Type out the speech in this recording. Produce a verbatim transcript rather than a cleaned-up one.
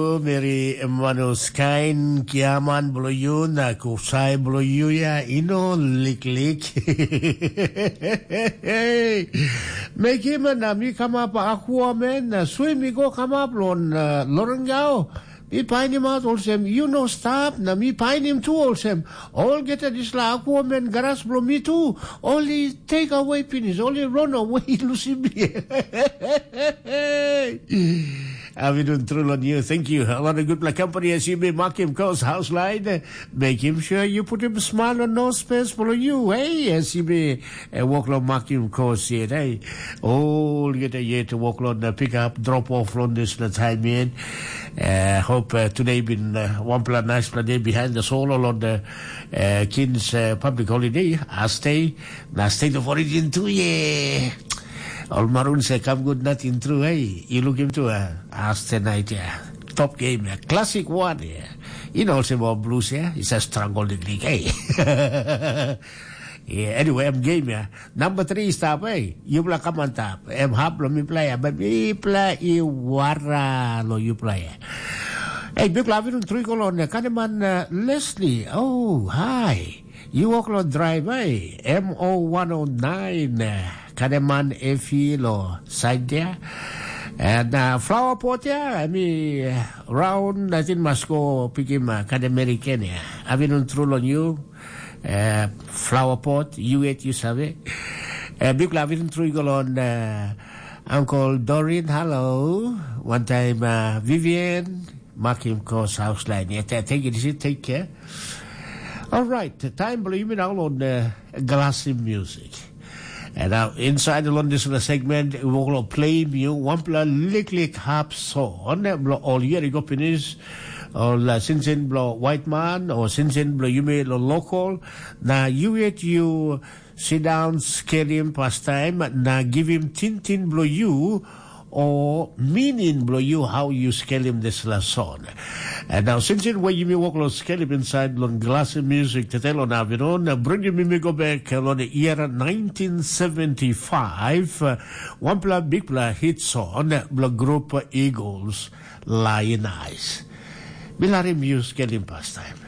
Meri Manus kain kiaman bilong yu na kusai bilong yu ya i no liklik. Mekim na mi kamap akua men na swim i go kamap long uh, Lorengau. Mi painim aut olsem yu no stap na mi painim tu olsem olgeta dispela akua men garas bilong mi tu ol i take away pinis, ol i run away lusim mi. Avidun Trulon, you, thank you. A lot of good black company as you may mark him course house line. Make him sure you put him smile on no space for you. Hey, as you may uh, walk along mark him course here. Hey, all get a year to walk along the pick up, drop off on this the time in. Uh, hope uh, today been uh, one plan nice plan day behind the soul along the uh, King's uh, public holiday. I stay, na state of origin too, yeah. Ol Maroons e kam gut nating tru, hey, yu lukim tu, uh, as tonight, yeah. Top game, yeah. Classic one, yeah. You know, also about blues, yeah. It's a struggle the league, hey. Yeah, anyway, I'm game, yeah. Number three stop, hey. Yupla come on top. Em hap lo mi play, but mi play i wara lo you play. Hey, big love you three kolon, kaneman uh, Leslie. Oh, hi. You walk lo drive, hey. M O one oh nine. Kaneman Efi lo side there. And uh, flower pot, yeah, I mean, uh, round, I think must go pick him, uh, Kademeri Kenya. Avinun Trul on you, uh, flower pot, you eat, you save. Uh, big love in Trul on uh, Uncle Dorin, hello. One time, uh, Vivian, Makim Kos house line. Yeah, th- thank you, take care. All right, time for you now on uh, Glassy Music. And now, inside the London segment, we will play you one pla lick lick harp song. Blo all year go finish. All uh, sinsin blo white man or sinsin blo you made lo local. Now you yet you sit down, scale him past time. Now give him tin tin blo you or meaning blo you how you scale him this last song. And now since it way you may walk lo scale him inside long glass music to tell on Avinon, bring you me go back on the year nineteen seventy-five. Uh, one pla big pla hit song blo group Eagles, Lion Eyes. Bilarim you scale him past time.